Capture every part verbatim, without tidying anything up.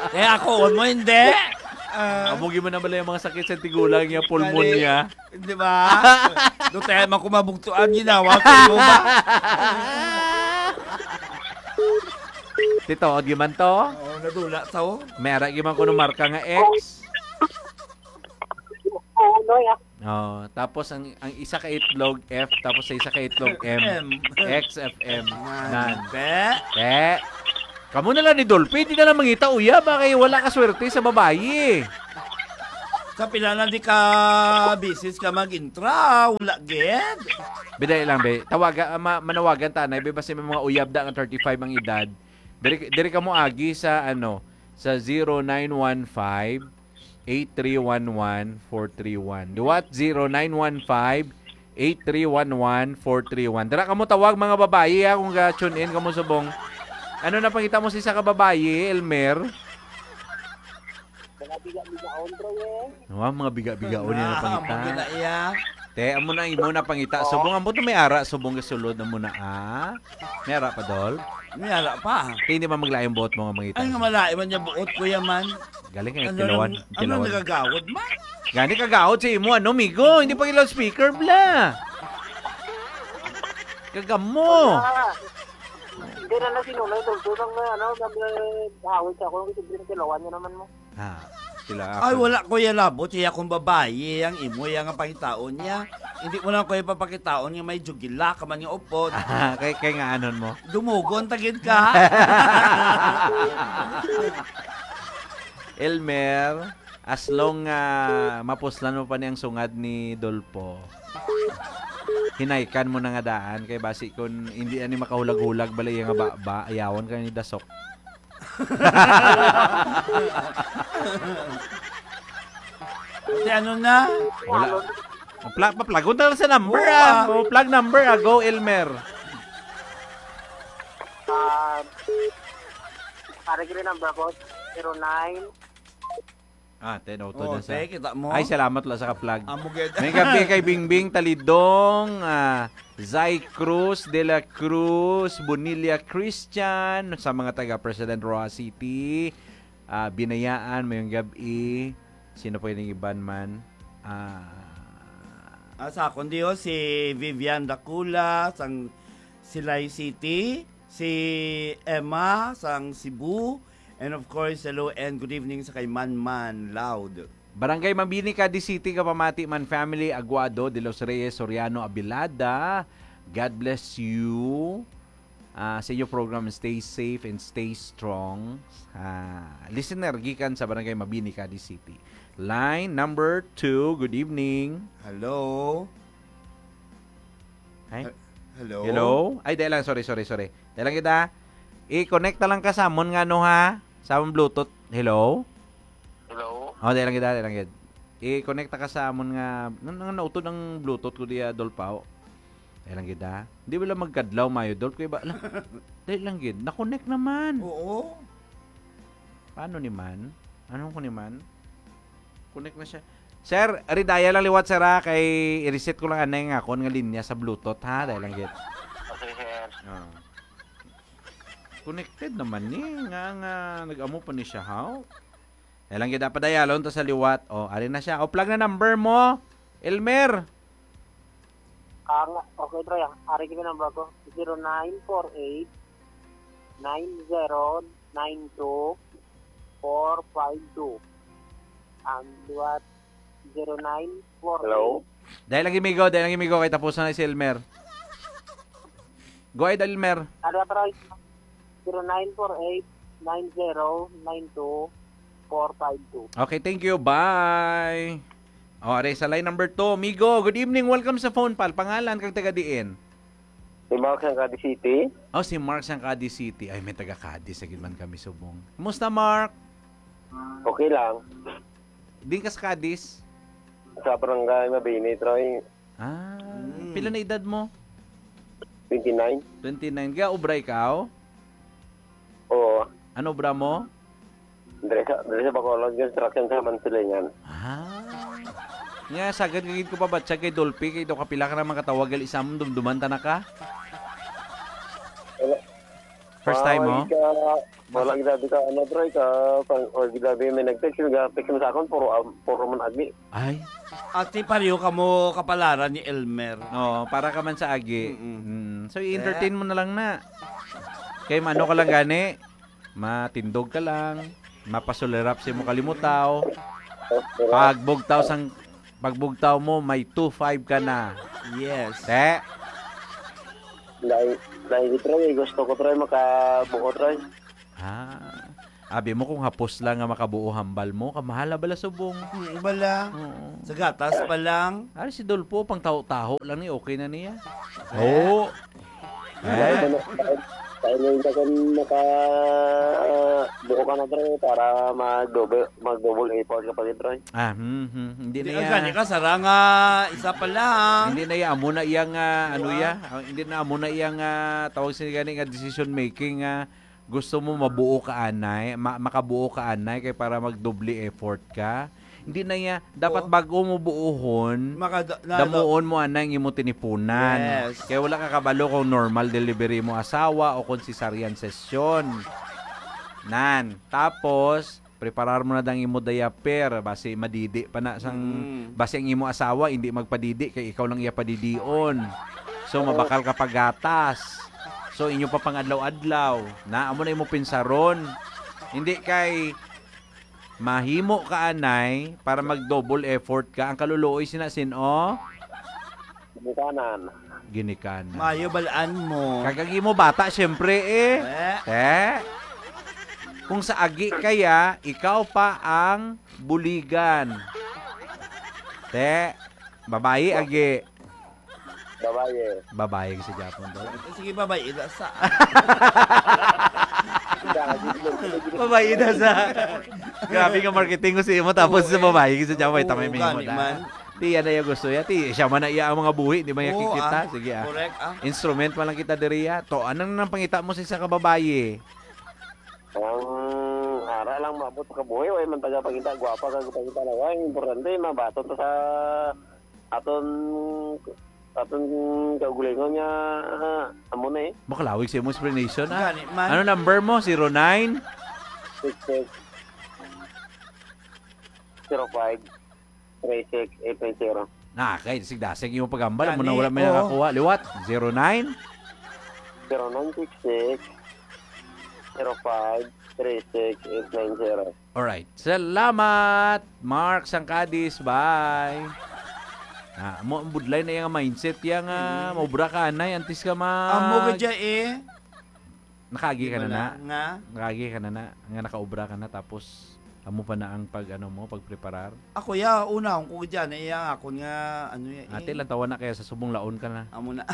Kaya ako, mo hindi. Ah, Amo gyud man na bala yung mga sakit sa tigulang niya, pulmonya. Di ba? Doon tayo man kung mabugtuan, ginawa ko mo ba? Tito, di man to? Oo, nadula sa, oh. May ara gyud man kuno marka nga X. Oo, Noy, ah. Oh, tapos ang, ang isa ka itlog, F, tapos sa isa ka itlog, M. M. X F M. Nan. Nan. Te. Te. Kamo na lang ni Dolphy, di na lang mangita, uya, ba kay wala ka swerte sa babayi. Sa pila na di ka bisis ka mag-intra, wala gid. Bidali lang, be. Tawaga, ah, ma-, manawagan ta, Nay, be, basta may mga uyab da nga thirty-five ang edad. Diri, diri ka mo agi sa, ano, sa zero nine one five, eight three one one, four three one. Liwat, zero nine one five, eight three one one, four three one. Dira kamo tawag, mga babayi, ha, kung ga-tune in kamo subong. Ano na pangita mo sa isa ka babayi, Elmer? Mga biga-bigaon, bro, eh. Wa, mga biga-bigaon yan na Ah, pangita. Mga biga iya. Te, amo na imo na pangita. Oo. Subong, amo to may ara, subong gasulod na mo na, ah. May ara pa, Dol? May ara pa. Te, hindi man maglaing buot mo nga mangita. Ay, nga malain man niya buot, kuya man. Galing kayo, Ano kilawan, nang, ano kilawan. Nagagawad man? Gani kagawad sa imo, ano, migo? Hindi pa yung loudspeaker, bla. Kagamo. Ah, hindi na na sinunay, tol. Doon ang, ano, nag-, hawid sa ako, ang kilawan niya naman mo. Ah, sila Ay, ako. Wala, Kuya Labot. Iya kung babayi ang imo, iya nga pangitaon niya. Hindi mo lang, Kuya, papakitaon nga may jugila ka man nga upod. Ah, kay, kay nga anon mo? Dumugon, tagid ka. Elmer, as long nga mapuslan mo pa ni ang sungad ni Dolpo, hinaykan mo na nga daan. Kay basi kung hindi ani makahulag-hulag, bala iya nga ba, ba, ayawan ka ni Dasok. Ate, ano na? Wala. Pla-, paplagon na lang sa number, Oo, ah. Ah. O, plug number, ah. Go, Elmer. Ah, pare, green number ko, zero nine. Ah, ten auto Oh, na sa te, kita mo? Ay, salamat la sa ka-plug. Amo gid. May gabi kay Bingbing Talidong, ah, Zay Cruz, De La Cruz, Bonilla Christian, sa mga taga President Roxas City, ah, Binayaan, mayong gab-i. Sino pa yung iban man? Ah, Ah, sa akon diyo, si Vivian Dacula, sang Silay City, si Emma, sang Cebu, and of course, hello and good evening sa kay Manman Loud. Barangay Mabini, Cadiz City, kapamati man family, Aguado, De Los Reyes, Soriano, Abilada. God bless you. Ah, sa inyo program, stay safe and stay strong. Ah, listener, gikan sa Barangay Mabini, Cadiz City. Line number two, good evening. Hello? Ay? He-, hello? Hello? Ay, dahil lang, sorry, sorry, sorry. Dahil lang kita, i-connect na lang ka sa amon nga ano ha? Sa amon Bluetooth. Hello? Hello? Oh, dahil lang kita, dahil lang kita. I-connect na ka sa amon nga, nan-, nan-, nautod ang Bluetooth ko diya, Dolpao. Dahil lang kita. Di ba lang magkadlaw, mayo, Dolp? Kaya ba, ala, dahil lang gid. Na-connect naman. Oo. Paano ni man? Anong ko ni man? Connect na siya. Sir, ridaya lang liwat, sir, ha? Kay i-reset ko lang anay nga akon nga linya sa Bluetooth, ha? Dahil lang gid. Okay, sir. Ah. Connected naman ni. Nga, nga, nag-amo pa ni siya, ha? Dahil lang gid, ah, padayalon to sa liwat. Oh, ari na siya. O, plug na number mo, Elmer. Ang, okay, bro, ang ari gid number ko, zero nine four eight, nine zero nine two, four five two. Ang liwat, zero nine four eight. Hello? Dahil lagi, migo, dahil lagi, migo, kay tapusan na si Elmer. Go ahead, Elmer. Ano, bro? Zero nine four eight, nine zero nine two, four five two. Okay, thank you. Bye. O, are sa line number two. Migo, good evening. Welcome sa phone, pal. Pangalan kag taga diin? Si Mark sang Cadiz City. Oh, si Mark sang Cadiz City. Ay, may taga Cadiz. Sa man kami subong. Kumusta, Mark? Okay lang. Din ka sa Cadiz? Sa barangay Mabini, Troy. Ah, Mm. pila na edad mo? Twenty-nine. Twenty-nine. Kaya obra ikaw? Oo. Ano obra mo? Diri sa, diri sa Bacolod, construction sa Mansilingan. Ah. Nga, sagad nga gid ko pabatsag kay Dolphy, kay daw kapila ka na makatawag, gali sa amon, dumduman ta na ka? Wala. First time mo? Mga ika-, Wala gid abi ka, ano, Troy, ka, pang, wala gid abi may nag-text, yung ga-text mo sa akon, puro, ah, puro man agi. Ay. Ati, pareho ka mo kapalaran ni Elmer. No, para ka man sa agi. Mm-mm. Mm. So, i-entertain mo na lang na. Kay maano ka lang gani, matindog ka lang, mapasulirap sa imong kalimutaw. Pagbugtaw sang, pagbugtaw mo, may two five ka na. Yes. Te? Dai, dai, Troy, gusto ko, Troy, makabuo, Troy. Ah. Abi mo kung hapos lang nga makabuo hambal mo, kamahala bala subong. Mm, bala. Oo. Sa gatas pa lang. Ari si Dolpo, pang taho-taho lang ni, okay na niya. Eh? Oo. Eh? Kaya nga yun kasi maka, ah, buo ka na, Troy, para mag-double, mag-double effort ka pa, Troy. Ah, hmm, hmm. Hindi Di, na ang ya-, gani ka, sara nga, isa pa lang. Hindi na ya, amo na iyang, ah, ano Diba? ya? Ah, hindi na amo na iyang, ah, tawag sila gani nga decision making, ah, gusto mo mabuo ka anay, ma-, makabuo ka anay kay para magdoble effort ka. Hindi na ya, dapat Oo. bago mo buuhon, Makada-, na-, damuon mo anay ang imo tinipunan. Yes. Kay wala ka kabalo kung normal delivery mo asawa o kung cesarean sesyon. Nan, tapos preparar mo na dang imo diaper, basi madidi pa na sang, Mm. basi ang imo asawa hindi magpadidi kay ikaw lang iya padidion. So, Oo. mabakal ka pagatas. So, inyo pa pang adlaw-adlaw. Na, amo na imo pinsaron. Hindi kay mahimo ka anay para mag-double effort ka. Ang kaluluoy sina sin-o? Ginikanan. Ginikanan. Mayo balaan mo. Kag ang imo bata, siyempre, eh. Eh. Eh? Kung sa agi kaya, ikaw pa ang buligan. Te, babayi, agi. Babayi. Babayi sa Japon to. Sige, babayi, ida sa. Babayi, ida sa. Grabe nga marketing ko sa imo, tapos Oo, sa eh. babayi sa Japon, Oo, tamay may gani imo na. man. Ti, yan na yung gusto niya. Ti, siya man na iya ang mga buhi, di ba niya Oo, kikita? ah. Sige, ah. Correct, ah. Instrument man lang kita diri, ah. To, anong nang pangita mo sa isa ka babayi? Ang ara lang maabot sa kabuhi, way man taga pangita, gwapa ka pangita na, way, importante, mabaton ta sa aton, aton kaugalingon nga, ah, amo na eh. Makalawig sa imong explanation, ah. Gani man. Ano number mo? Zero nine? Six six. Zero five. Three six eight nine zero. Na, kay dasig-dasig yung paghambal. Amo na, Gani, wala may oo. nakakuha. Liwat, zero nine? Zero nine six six, zero five, three six eight nine zero. Alright. Salamat, Mark Sangkadis. Bye. Ah, mo, ang budlay na yung mindset, yung, ah, Mm. maubra ka, anay, antes ka mag- Amo ka dyan, eh. Nakaagi ka na Wala. na? Nga? Nakaagi ka na na, nga nakaobra ka na, tapos amo pa na ang pag, ano mo, pagpreparar? Ako, ya, una, kung ko dyan, iya, akon nga, ano, ya, eh. Ate, lang tawa na kaya sa subong laon ka na. Amo na.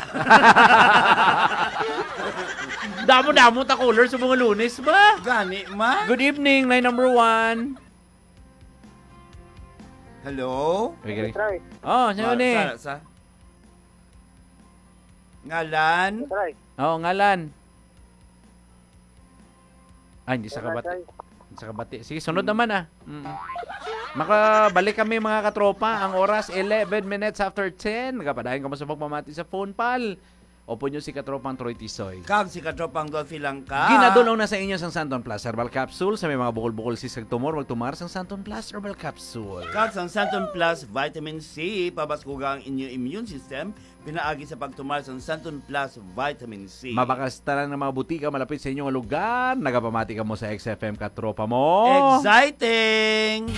Damo-damo ta caller sa mga Lunes ba? Gani man. Good evening, line number one. Hello? Okay, okay. Try. Oh, sino Ah, ni? sa, sa? Ngalan? Try. Oh, ngalan. Ah, hindi sa Ngalan, kabati. try. Hindi sa kabati. Sige, sunod Hmm. naman, ah. Mm. Makabalik kami, mga katropa. Ang oras, eleven minutes after ten. Nagapadayon kamo sa pagpamati sa phone, pal. Opo nyo si Katropang Troy Tisoy. Kag si Katropang Dolphy Langka. Ginadulaw na sa inyo sang Santon Plus Herbal Capsule. Sa may mga bukol-bukol, sisag, tumor, magtumar sang Santon Plus Herbal Capsule. Kag sang Santon Plus Vitamin C, pabaskuga ang inyo immune system, pinaagi sa pagtumar sang Santon Plus Vitamin C. Mabakas tanan nga mga butika malapit sa inyo nga lugar. Nagapamati kamo sa X F M, katropa mo. Exciting!